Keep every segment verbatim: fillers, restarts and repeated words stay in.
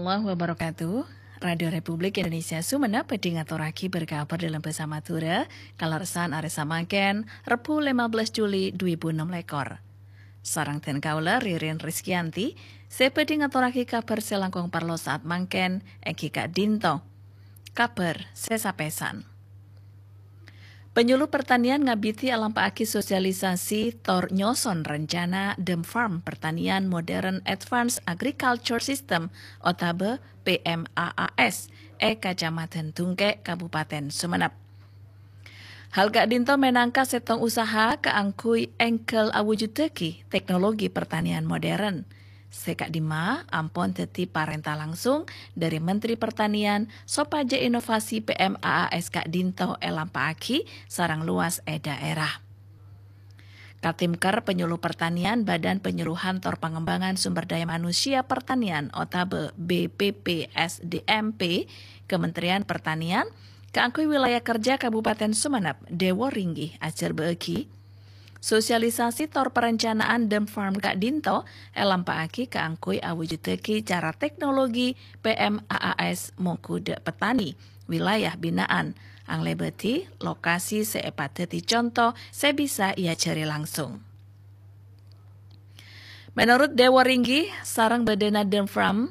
Warahmatullahi wabarakatuh. Radio Republik Indonesia Sumenep bhâdhi ngatorraghi berkabar dâlem bhâsa Madhurâ, kalerressan arè samangkèn, Rebbhu lèma bellâs Juli dhu èbu ennem lèkor. Sareng dhân kaulâ, Ririn Rizkyanti, sè bhâdhi ngatorraghi kabhâr sè langkong parlo saat mangkèn, èngghi ka'dinto. Kabhâr sè sapèsan. Penyuluh Pertanian ngabidhi alampa'aghi sosialisasi tor nyoson rencana Dem Farm Pertanian Modern Advanced Agriculture System otabâ P M A A S è Kacamadhân Dungkè', Kabupaten Sumenep. Hal ka'dinto mènangka sèttong usaha kaangghuy èngghâl awujuddhâghi teknologi pertanian modern. Sè ka'dimma ampon dhâddhi parènta langsung dhâri Menteri Pertanian sopajâ inovasi P M A A S ka'dinto èlampa'aghi sareng lowas è dhaèra. Katimker Penyuluh Pertanian Badan Penyuluhan Tor Pangembangan Sumber Daya Manusia Pertanian otabâ B P P S D M P Kementerian Pertanian kaangghuy wilayah kerja Kabupaten Sumenep, Dewo Ringgi ajhârbâ'âghi. Sosialisasi tor perencanaan Dem Farm ka'dinto èlampa'aghi kaangghuy awujuddhâghi cara teknologi P M A A S mongghu dâ' petani wilayah bina'an, anglèbâdhi lokasi sè èpadhâddhi conto sè bisa èajhâri langsung. Menurut Dewo Ringgi, sareng bâdâna Dem Farm,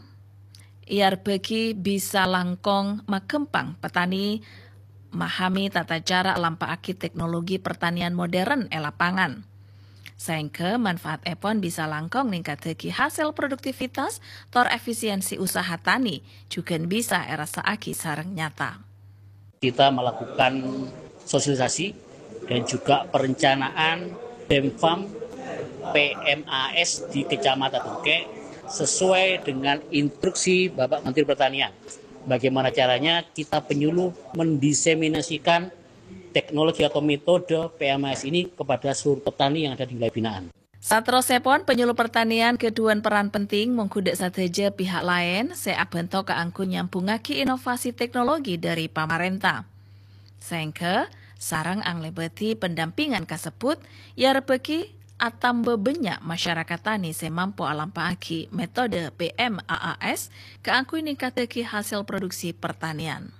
èarbâghi bisa langkong maghâmpang petani mahami tata cara alampa'aghi teknologi pertanian modern è lapangan. Saèngghâ manfaatèpon bisa langkong ningkaddhâghi hasèl produktivitas tor efisiensi usaha tani, jhughân bisa èrassa'aghi sareng nyata. Kita melakukan sosialisasi dan juga perencanaan Dem Farm P M A S di Kecamatan Dungkè sesuai dengan instruksi Bapak Menteri Pertanian. Bagaimana caranya kita penyuluh mendiseminasikan teknologi atau metode P M A S ini kepada seluruh petani yang ada di wilayah binaan. Saterrossèpon, penyuluh pertanian ghâdhuwân peran penting mongghu dâ' sadhâjâ pihak laèn sè abhânto kaangghuy nyambhungngaghi inovasi teknologi dhâri pamarènta. Saèngghâ, sareng anglèbâdhi pendampingan kasebbhut, èarbâghi atamba bânnya' masyarakat tani sè mampo alampa'aghi metode P M A A S kaangghuy ningkaddhâghi hasèl produksi pertanian.